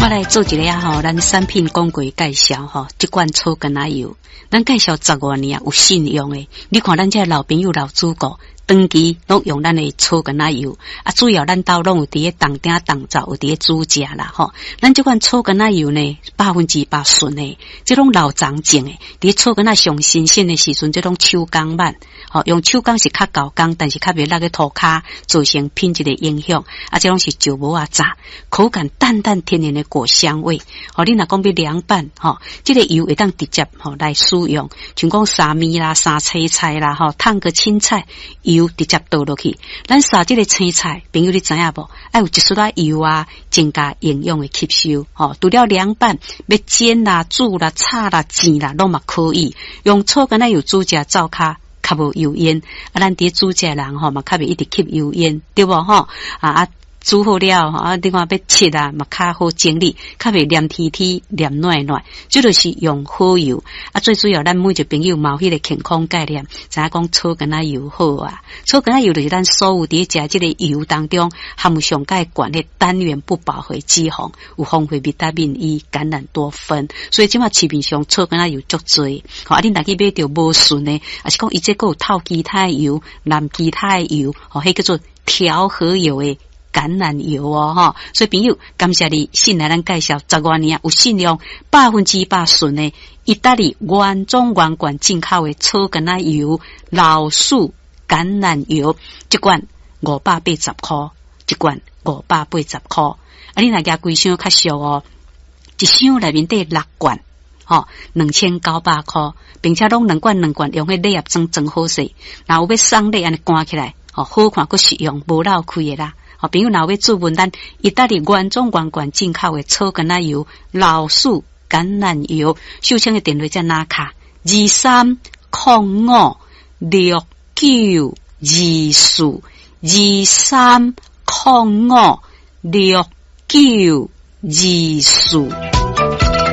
我來做一个吼，咱產品廣告介紹吼，這罐草橄欖油，咱介紹十外年啊，有信用的。你看咱這老朋友老主顧，長期攏用咱的草橄欖油，啊，主要咱兜攏有佇咧凍鼎凍灶，有佇咧煮食啦吼。咱這款草橄欖油呢，100%純的，這攏老欉種的，佇草橄欖上新鮮的時陣，這攏手工挽，吼，用手工是較厚工，但是較袂落去塗跤，造成品質的影響。啊，這攏是石磨仔榨，口感淡淡天然的果香味。吼，你若講欲涼拌，吼，這个油會當直接吼來使用，像講沙麵啦、沙青菜啦、吼，燙個青菜，油直接倒落去。咱撒這个青菜，朋友你知影無？愛有一絲仔油啊，增加營養的吸收。吼，除了涼拌，欲煎啦、煮啦、炒啦、煎啦，攏嘛可以。用草橄欖油煮食，灶跤較無油煙。啊，咱佇咧煮食的人吼嘛，較袂一直吸油煙，對無吼？啊。煮好了，啊，你看欲切啊，嘛較好整理，較袂黏黐黐、黏軟軟。這就是用好油。啊，最主要咱每一個朋友嘛有彼個健康概念，知影講草橄欖油好啊。草橄欖油就是咱所有佇咧食這個油當中含有上蓋懸的單元不飽和脂肪，有豐富維他命 E、橄欖多酚。所以這馬市面上草橄欖油足濟。吼，啊，你若去買著無純的，抑是講伊這閣有透其他的油、淋其他的油，吼，彼叫做調和油的橄欖油哦，吼，所以朋友，感謝你信賴咱介紹十外年有信用100%純的意大利原裝原罐進口的草橄欖油、老樹橄欖油，一罐580箍，一罐五百八十箍。啊，你若舉規箱較俗哦，一箱內面底六罐，吼，2900箍，並且攏兩罐兩罐用彼禮盒裝裝好勢，若有欲送禮按呢關起來，吼，好看閣實用，無漏開的啦。好，朋友若欲注文咱意大利原裝原罐進口的草橄欖油、老樹橄欖油，秀清的電話遮拿卡23056924，23056924。